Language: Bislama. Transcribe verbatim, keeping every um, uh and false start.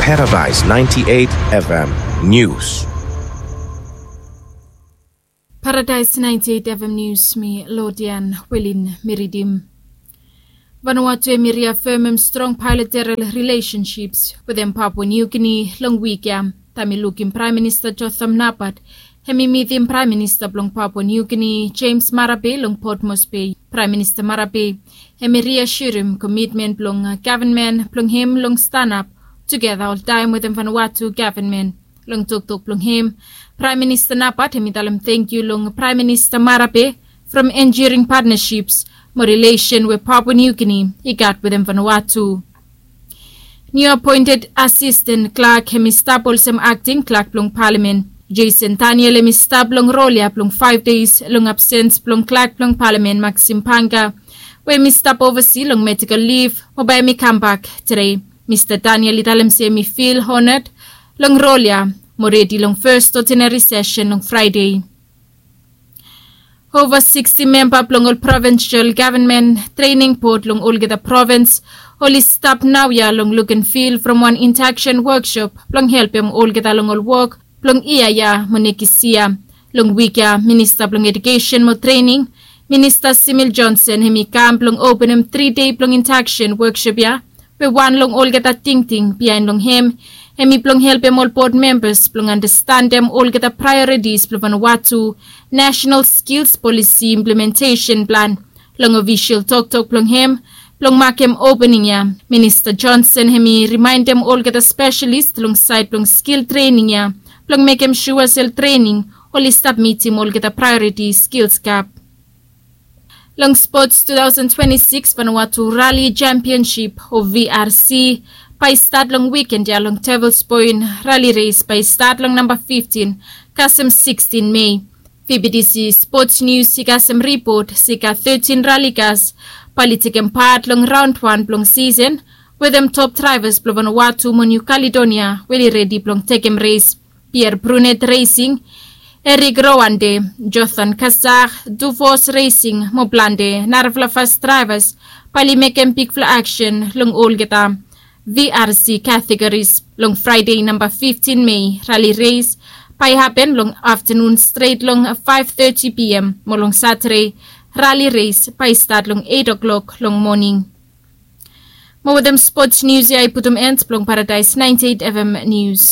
Paradise ninety-eight F M News. Paradise ninety-eight F M News, mi Lodian Wilin mi ridim. Vanuatu hemi riafemem strong bilateral relationships wetem Papua New Guinea long wik ya, taem i lukim Praem Minista Jotham Napat hemi mitim Praem Minista blong Papua New Guinea James Marape long Port Moresby. Praem Minista Marape hemi riasiorem komitmen blong gavman blong hem long stanap tugeta oltaem wetem Vanuatu gavman. Long toktok blong hem, Praem Minista Napat hemi talem tangkiu long Praem Minista Marape from enduring partnerships mo relation we Papua New Guinea i gat wetem Vanuatu. Niu apoented asisten klak hemi stap olsem akting klak blong palamen. Jason Daniel hemi stap long rol ya blong faef deis long absens blong klak blong palamen Maxim Panga, we hemi stap ovasi long medikol liv mo bae hemi kambak tede. Mista Daniel i talem se hemi fil honad long rol ya mo redi long fes odinari sesen long Fraede. Ova siksti memba blong ol provinsel gavman trening bod long olgeta provins oli stap naoia long luk and fil from wan intaksen woksop blong helpem olgeta long ol wok blong yia ya mo nekis yia. Long wik ya, Minista blong Edukesen mo Trening, Minista Simil Johnson, hemi kam blong openem tri dei blong intaksen woksop ya, we wan long olgeta tingting biaen long hem hemi blong helpem ol bod membas blong andastandem olgeta praeoritis blong Vanuatu Nasenal Skils Polisi Implementesen Plan. Long ofisol toktok blong hem blong makem opening ya, Minista Johnson hemi rimaendem olgeta spesalis long saed blong skil trening ya blong mekem sua se ol trening oli stap mitim olgeta praeoriti skils gap. Long spots two thousand twenty-six Vanuatu Rally Championship o V R C bae i stat long wikend ya long Devils Point. Rally res bae i stat long namba fiftin kasem sikstin Mei. V B T C Sports News i kasem ripot se i gat tetin rali kas bae oli tekem pat long raon wan blong sisen wetem top draevas blong Vanuatu mo Niu Kaledonia we oli redi blong tekem res. Pierre Brunet Resing, Erik Rowande, Jothan Kazak, Duvos Resing mo plante narafala fas draevas bae oli mekem bigfala aksen long olgeta V R C kategoris. Long Fraede namba fiftin Mei, rali res bae i hapen long aftanun stret long faef teti P M mo long Satade rali res bae i stat long eit o'klok long moning. Mo wetem spots nius ya i putum en blong Paradaes naenti eit F M nius.